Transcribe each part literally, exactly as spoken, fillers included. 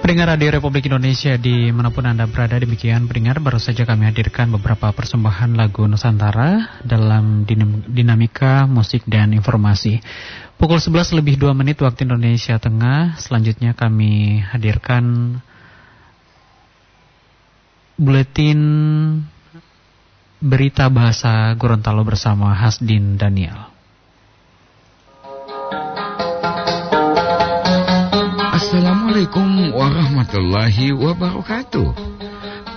Pendengar Radio Republik Indonesia di manapun Anda berada, demikian pendengar, baru saja kami hadirkan beberapa persembahan lagu Nusantara dalam dinam-, dinamika musik dan informasi. Pukul sebelas lebih dua menit waktu Indonesia Tengah, selanjutnya kami hadirkan buletin berita bahasa Gorontalo bersama Hasdin Daniel. Assalamualaikum warahmatullahi wabarakatuh.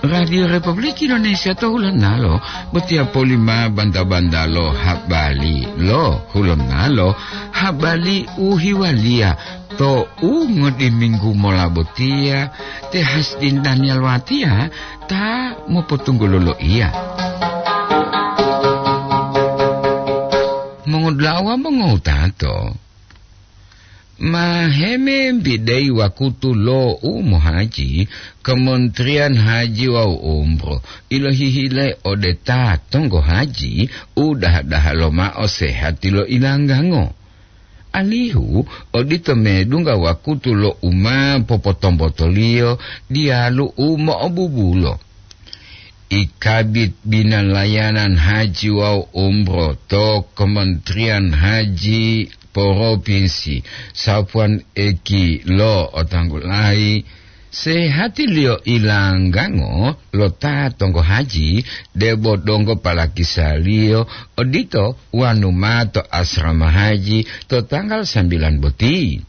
Radio Republik Indonesia to hulonalo botiya polima banta-banta lo habari lo hulonalo, habari u hiwaliya to u ngodiminggu mola botiya, te Hasdin Daniel watiya ta mopotunggulo loiya. Mongodula'a wawu mongowutato, ma hemembidai wakutu lo u mohaji, Kementerian Haji wawu Umroh ilohihile ode ta tonggo haji u daha-daha lomao sehati lo ilanggango. Alihu odito medungga wakutu lo u ma popotombotoliyo diyalu u mo'obubulo. I Kabit Bina Layanan Haji wawu Umroh to Kementerian Haji Propinsi, Safwan Eki lo otanggulayi, sehatiliyo ilanggango lo ta tonggo haji debo donggo palakisaliyo odito wanu ma to asrama haji to tanggal sambilan boti.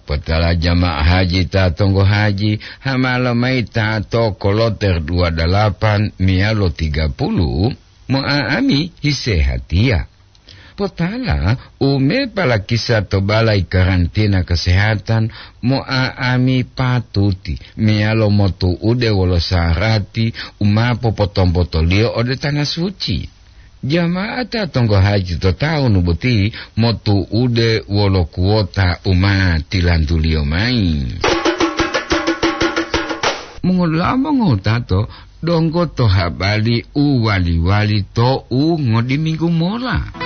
Potala jamaah haji ta tonggo haji, hamalo mayi ta to koloter dua dalapan meyalo tiga puluh, mo'a'ami hisehatiya. Potala u me palakisa to balai karantina kesehatan, mo'a'ami patuti meyalo motu'ude wolo sarati u ma popotombotoliyo ode Tanah Suci. Jama'ata tonggo haji to tawunu boti motu'ude wolo kuwota u ma tilantuliyo mayi. Mongolamo ngotato donggo to habari u wali-wali to u ngodiminggu mola.